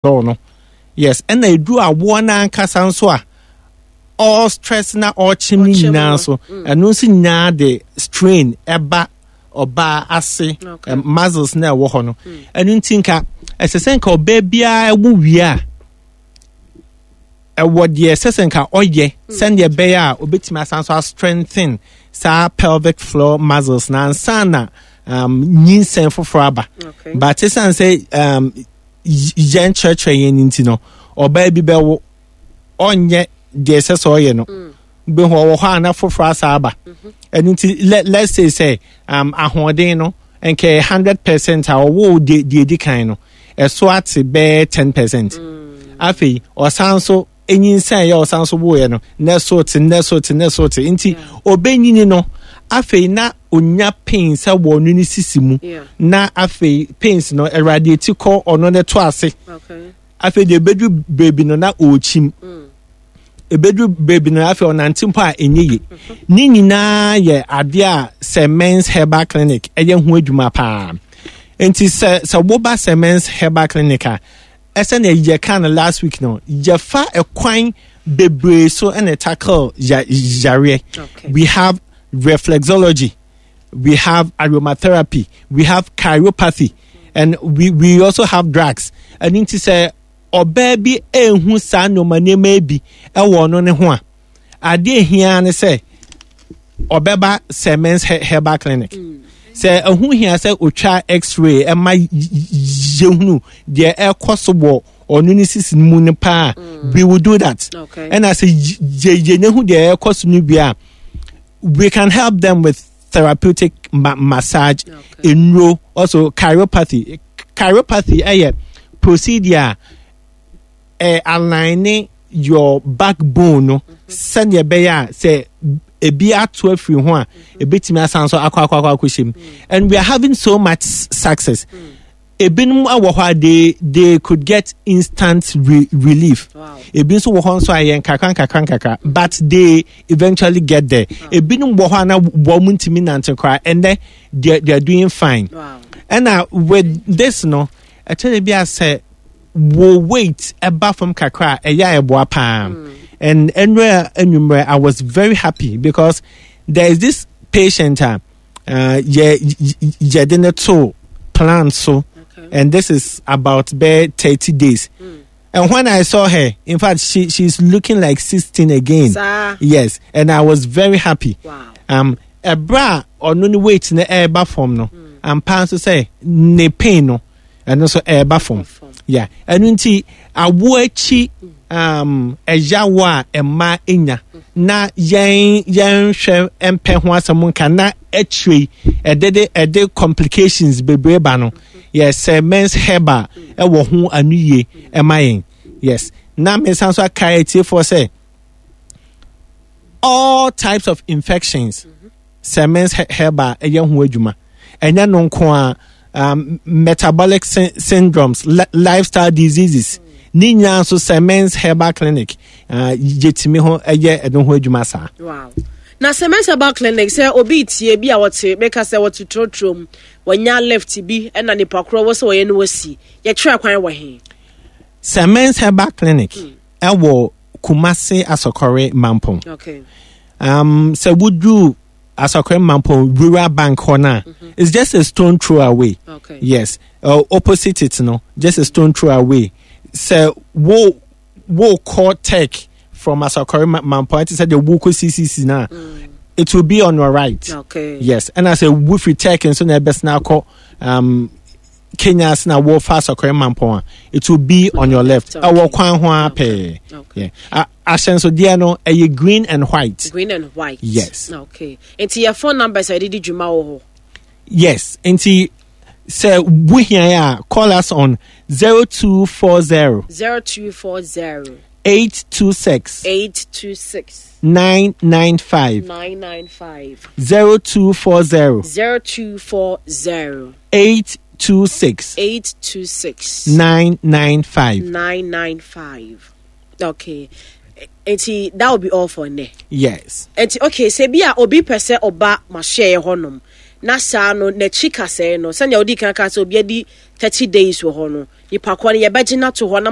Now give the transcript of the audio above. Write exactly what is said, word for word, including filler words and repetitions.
No, yes, ɛna edu awoɔ n'ankasa nso a, all stress na ɔkyem ne nyinaa nso, ɛno nso nyinaa de strain ɛba ɔbaa ase muscles na ɛwɔ hɔ no. Ɛno nti nka ɛsɛ sɛ nka ɔbaa biara ɛwo wie a, ɛwɔ deɛ ɛsɛ sɛ nka ɔyɛ sɛndeɛ ɛbɛyɛ a obetumi asan so astrengthen saa pelvic floor muscles na ansa na um, nyinsɛn foforɔ aba. But esan sɛ um, yɛn kyerɛkyerɛ yɛn nti no, ɔbaa bi bɛwo, ɔnyɛ deɛ ɛsɛ sɛ ɔyɛ no, bɛhu ɔwɔ hɔ a na foforɔ asa aba. Ɛno nti let let's say sɛ um, ahoɔden no nkɛ hundred percent a ɔwɔ deɛ deɛ edi kan no, ɛso ate bɛyɛ ten percent. Afei ɔsan so enyinsɛn yɛ, ɔsan so woyɛ no, na ɛso te, na ɛso te, na ɛso te. Nti ɔbɛnyini no, afei na onya pain sɛ wɔ ɔno ne sisi mu, na afei pains no awurade eti kɔ ɔno ne to ase. Afei deɛ ebedu beebi no na ɔrekyim, ebedu beebi no afei ɔnante mpo a ɛnyɛ yie. Ne nyinaa yɛ adeɛ a sɛ Men's Herbal Clinic ɛyɛ ho adwuma paa. Nti sɛ sɛ woba sɛ Men's Herbal Clinic a, ɛsɛ na yɛka no last week no, yɛfa ɛkwan bebree so ɛna tackle ya yareɛ. We have reflexology, we have aromatherapy, we have chiropathy, and we we also have drugs. Ɛno nti sɛ ɔbaa bi ehu saa nneɛma nneɛma bi ɛwɔ ɔno ne ho a, adeɛ ehia ne sɛ ɔbɛba sɛ Men's Herbal Clinic. Sɛ ɛho hia sɛ otwa X-ray ɛma yɛhunu deɛ ɛkɔ so wɔ ɔno ne sisi mu no paa, we will do that. Ɛna sɛ yɛ yɛnyehu deɛ ɛkɔ so no bi a, we can help them with therapeutic ma massage, nnuro, also chiropathy. Chiropathy ɛyɛ procedure a ɛ align your backbone no sɛdeɛ ɛbɛyɛ a sɛ ebi ato afiri ho a, ebetumi asan so akɔ akɔ akɔ akɔhyɛ mu. And we are having so much success. Ebinom wɔ hɔ a, they they could get instant re relief Wow. Ebi nso wɔ hɔ nso a yɛ nkakra nkakra nkakra, but they eventually get there. Ebinom wɔ hɔ a na wɔn ntumi nante koraa, ɛnɛ they they are doing fine. Wow. Ɛna with this no, ɛkyɛrɛ bi a sɛ wo weight ɛba fam kakra a, ɛyɛ a ɛboa paa. And ɛnura enwumrɛ, I was very happy because there is this patient a uh, yɛ yɛde ne to plan so Okay. and this is about bɛɛ thirty days, and when I saw her, in fact, she she's looking like sixteen again. Saa. Yes, and I was very happy. Wow. um ɛbrɛ a ɔno ne weight no ɛreba fam no, ampa nso sɛ ne pain no, ɛno nso ɛreba fam. Fam. Yeah, ɛno nti awo akyi um, ɛyawo a ɛma enya na yɛn yɛnhwɛ mpɛ ho asɛm nka na akyire yi ɛde de ɛde complications bebree ba no, yɛ sɛ Men's Herbal ɛwɔ ho ano yie ɛma yɛn. Yes, na mesan so aka etiefoɔ sɛ all types of infections, sɛ Men's Herbal ɛyɛ ho adwuma. Ɛnyɛ no nko a, um, metabolic sy syndromes, li lifestyle diseases ne nyinaa nso, sɛ Men's Herbal Clinic uh, yɛtumi ho ɛyɛ ɛno ho adwuma saa. Wow. Na sɛ Men's Herbal Clinic, sɛ obi tie bi a wɔte meka sɛ wɔte trotrom, wɔnya lift bi ɛna nipa korɔ wɔ sɛ wɔyɛ no wɔsi, yɛkyerɛ kwan wɔ he? Sɛ Men's Herbal Clinic ɛwɔ Kumase Asɔkɔre Mampɔn. okay um, sɛ woduru Asɔkɔre Mampɔn Rural Bank hɔ no a, it's just a stone throw away. Okay yes, uh, opposite it no, just a stone throw away. Sɛ wo wo kɔ Tech from Asɔkɔre Mampɔn, ɛte sɛ deɛ wokɔ C C C na, it will be on your right. Okay yes, ɛna sɛ wofiri Tech nso na ɛbɛsena akɔ um, Kenya ase na wɔfa Asɔkɔre Mampɔn a, it will be on your left. Okay. Ɛwɔ kwan ho ara pɛɛ. Okay. Yeah. A- ahyɛnsodeɛ no ɛyɛ green and white. Green and white. Yes. Okay, nti yɛ phone numbers a yɛde di dwuma wɔ hɔ? Yes, nti sɛ wohia a, call us on zero two four zero zero two four zero eight two six eight two six nine nine five. nine nine five. zero two four zero zero two four zero eight two six eight two six nine nine five. nine nine five. Okay, nti that will be all for nnɛ? Yes. Nti okay, sɛ bi a obi pɛ sɛ ɔba mahyɛɛ hɔnom Na saa no n'akyi kasɛɛ no, sɛnea wodi kan ka sɛ obi adi thirty days wɔ hɔ no, nipa korɔ no yɛbɛgye no ato hɔ na